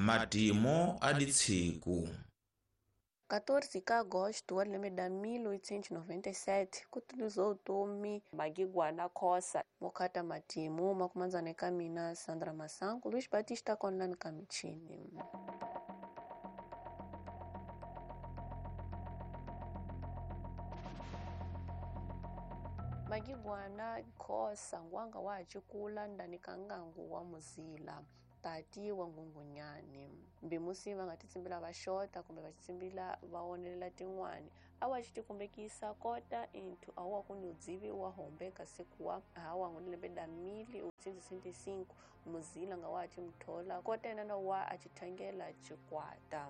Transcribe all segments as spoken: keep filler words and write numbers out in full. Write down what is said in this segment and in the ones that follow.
Madimo a ditshiku. quatorze de agosto wa lembe da mil oitocentos e noventa e sete kutilizou utomi Magiguana Khosa mokata matimu makumanzane kamina Sandra Masango Luiz Batista Conlani Kamichini. Magiguana Khosa ngwanga wa chikula ndani kangangu wa Muzila tati wa Ngungunyani mbimusi va nga titsimbila va xota kumbe va tsimbila va onelela tin'wani a wa xi tikumbekisa kota into a wa ku nyudzivi wa hombe kasi kuwa hawa ngone da mil oitocentos e sessenta e cinco Muzila nga wa chimthola kota yena na wa a chithangela chikwata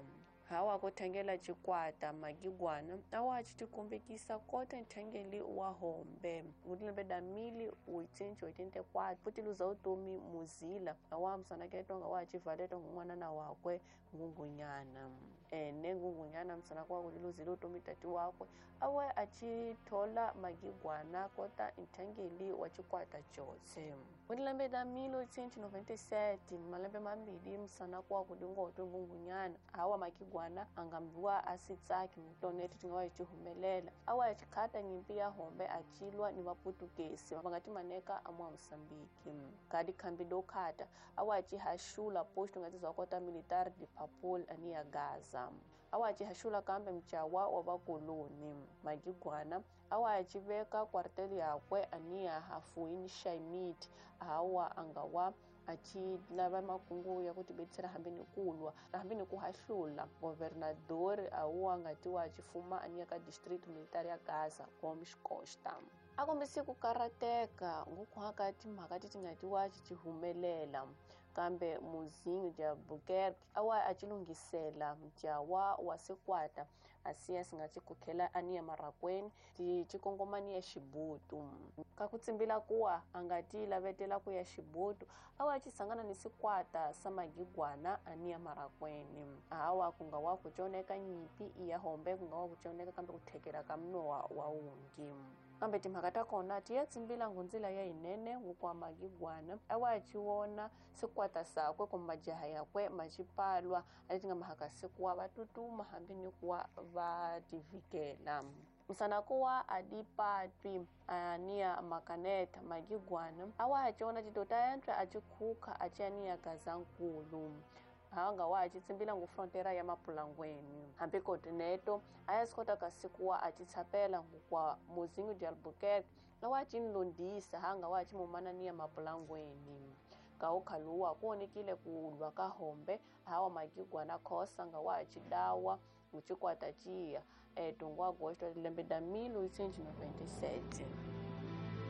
hawa ku thangela chikwata Magiguana a wa xi tikumbekisa kota nthangeli wa hombe ngone da mil oitocentos e oitenta e quatro futhi luza utomi Muzila a wa msanaketo nga wa chivaleto ng'wana na wakwe Ngungunyana ene Ngungunyana msana kwa kuluzile utomi tati wakwe awe achithola Magiguana kota nthangeli wa chikwata chose ngone da mil oitocentos e noventa e sete malembe mambili msana kwa kudingoto Ngungunyana hawa Magiguana angambiwa asitsaki mtoneti tingawa chihumelela awa chikhata nyimpi ya hombe achilwa ni vaputukesi vangati maneka amwa Mosambiki kadi khambi do khata awa chihashula posto ngati zakota militar de Papul ani ya Gaza awa chihashula kambe mchawa wa vakoloni Magiguana awa chiveka kwarteli yakwe ani ya hafuini Shaimit hawa angawa achi lava makungu ya ku tibetsela hambi ni kulwa hambi ni ku hahlula governador awu angati wa chifuma ania ka distrito militar ya Gaza Gomes Costa a kombise ku karateka ngukuhaka timhaka ti tingati wa chihumelela kambe Muzinho de Albuquerque awa achilungisela mjawa wa sikwata asiya singachikukhela aniya marakweni ti chikongomani ya Xibutu ka ku tsimbila kuwa angati lavetela ku ya Xibutu awa chisangana ni sikwata sa Magiguana aniya marakweni hawa kunga wa kuchoneka nyipi iya hombe kunga wa kuchoneka kambe kuthekela ka mnowa wa ungi kambe timhaka ta kona ti ya tsimbila ngundzila ya yinene ngukwa Magiguana awa chiwona sikwata sakwe kumbe majaha yakwe machipalwa a ti nga mahaka sikuwa va tutuma hambi ni kuwa va tivikela msanakuwa adipatwi ania makaneta Magiguana awa achiona chitota yantswe achikhuka achiania Gazankulu hanga wa achitsimbila ngu frontera ya Mapulangweni hambi kotineto a ya sikota kasikuwa achitsapela ngukwa Muzinho de Albuquerque awa achinlondisa hanga wa achimumanania Mapulangweni kaukhaluwa kuonekile kulwa ka hombe hawa Magiguana Khosa nga wa achidawa nguchikwata chiya e twenty agosto lembe da mil oitocentos e noventa e sete.